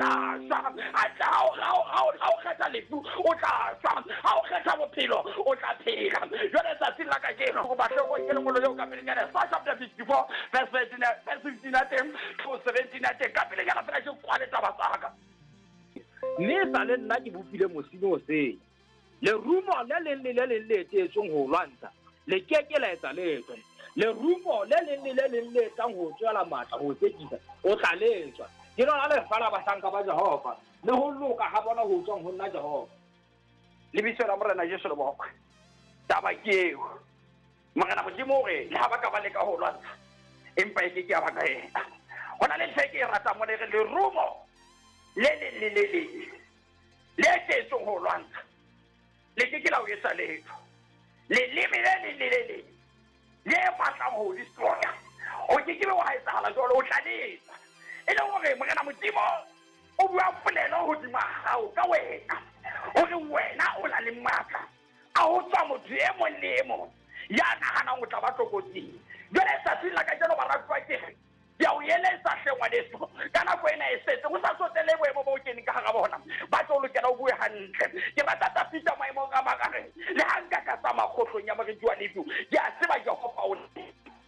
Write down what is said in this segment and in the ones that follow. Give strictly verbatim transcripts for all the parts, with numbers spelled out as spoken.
tla shwa. Ha o kgetha lefu o tla shwa, ha o kgetha bophelo o tla phela. Jwale tsatsing la kajeno go batle go ke lengolo leo ka pelenyana sa chapter fifty-four verse fifteen ya teng to seventeen ya teng ka pelenyana fela ke kwale taba tsaka. Mme sa le nna ke bopile mosenyi o sele. Lerumo le leng le le leng le teetsweng ho lwantsha le ke ke la etsa letho. Lerumo le leng le le leng le tlang ho tswela matla ho tsekisa o tla letswa. Ke lona lefa la bahlanka ba Jehova le ho loka ha bona ho tswang ho nna Jehova. Lebitso la Morena Jesu le bokwe. Taba ke eo. Morena Modimo o re le ha ba ka ba leka ho lwantsha empa e ke ke ya ba ka ena. Ho na le ntho e ke e ratang mona e re lerumo le leng le le leng le teetsweng ho lwantsha le ke ke la o etsa letho. Leleme le leng le le leng le batlang ho destroya o ke ke be wa etsahala jwalo, o tla letsa. E leng hore Morena Modimo o bua polelo hodima hao ka wena, hore wena o na le matla a ho tswa motho e mong le e mong ya nahanang o tla ba tlokotsing. Jwale tsatsing la kajeno baratuwa ke re ke a o eletsa hle ngwaneso, ka nako ena e setse ho sa tsotelle boemo bo o keneng ka hara bona, ba tlo lokela o bue hantle. Ke rata Tafita maemong a mang a re le ha nka ka tsamaya kgohlong ya moriti wa lefu, ke a tseba Jehova o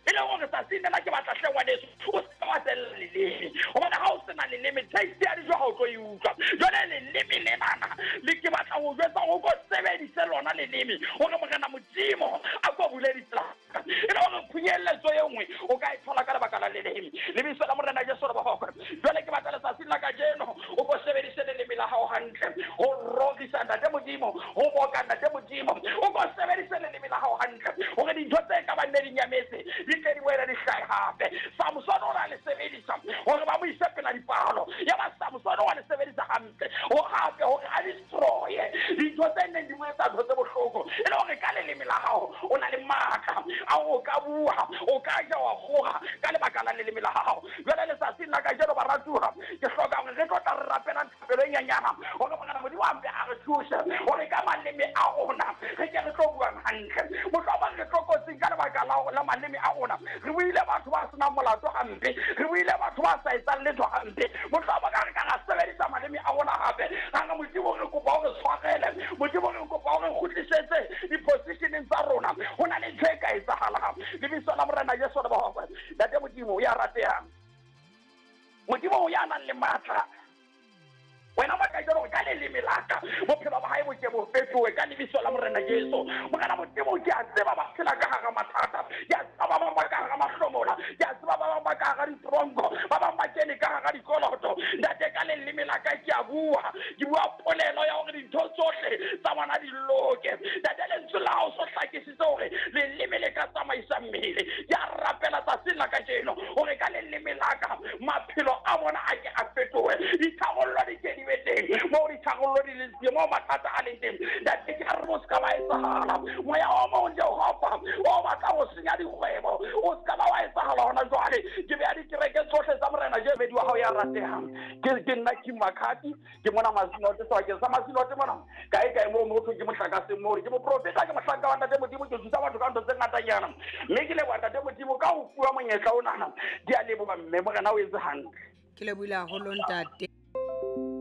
e leng hore tsatsing lena ke batla hle ngwaneso o se wa tella leleme, hobane ha o sena leleme taste ya dijo ha o tlo e utlwa. Jwale leleme lenana le ke batla ho jwetsa hore o ko sebedise lona leleme hore Morena Modimo a ko bule ditsela. E le hore phunyelletso e nngwe o ka e thola ka lebaka la leleme. Lebitso la Morena Jesu le bokwe. Jwale ke batla letsatsing la kajeno o ko sebedise leleme la hao hantle ho rorisa Ntate Modimo, ho boka Ntate Modimo. O ko sebedise leleme la hao hantle hore dintho tse ka bang ne di nyametse di tle di boele di hlahe hape. Samson o na le sebedisa hore ba mo ise pela dipalo, ya ba Samson o le sebedisa hantle ho hape hore a destroye dintho tse neng di mo etsa ntho tse bohloko. E le hore ka leleme la hao o na le matla a o ka bua, o ka ja wa kgoga ka lebaka la leleme la hao. Jwale letsatsing la kajeno baratuwa ke hloka hore re tlo tla re rapelang thapelo e nyenyana hore Morena Modimo a mpe a re thuse hore ka maleme a rona re ke re tlo buang hantle. Mohlomong re tlokotsing ka lebaka la maleme a rona, re buile batho ba senang molato hampe, re buile batho ba sa etsang letho hampe. Mohlomong ka re ka ra sebedisa maleme a rona hape. Ra re Modimo re kopa hore tshwarele, Modimo re kopa hore kgutlisetse di-positioneng tsa rona. Ho na le ntho e ka etsahalang. Lebitso la Morena Jesu le bokwe. Ntate Modimo ya ratehang, Modimo ya nang le matla, wena ba ka jalo ka leleme la ka bophelo ba hae bo ke bo fetohe ka lebitso la Morena Jesu. Morena Modimo ke a tseba ba phela ka hara mathata, ke a tseba ba bang ba ka hara mahlomola, ke a tseba ba bang ba ka hara ditronko, ba bang ba kene ka hara dikoloto. Ntate ka leleme la ka ke a bua, ke bua polelo ya hore dintho tsohle tsa bona di loke. Ntate lentswe la hao so hlakisitse hore leleme le ka tsamaisa mmele. Ke a rapela tsatsing la kajeno hore ka leleme la ka maphelo a bona a ke a fetohe, ditharollo di ke di be teng moo ditharollo di leng teng, moo mathata a leng teng. Ntate ke a re o se ka ba etsahala moya o mong Jehova o batla ho senya dikgwebo, o se ka ba wa etsahala hona jwale. Ke beha dikereke tsohle tsa Morena Jesu wa hao ya ratehang. Ke ke nna King Makhati, ke mona Masinote sebakeng sa Masinote mona kae kae moo motho ke mohlakaseng moo ke moprofeta, ke mohlanka wa Ntate Modimo, ke thusa batho ka ntho tse ngatanyana. Mme ke leboha Ntate Modimo ka ho fuwa monyetla onana. Ke a leboha mme Morena o etse hantle. Ke lebohile haholo ntate.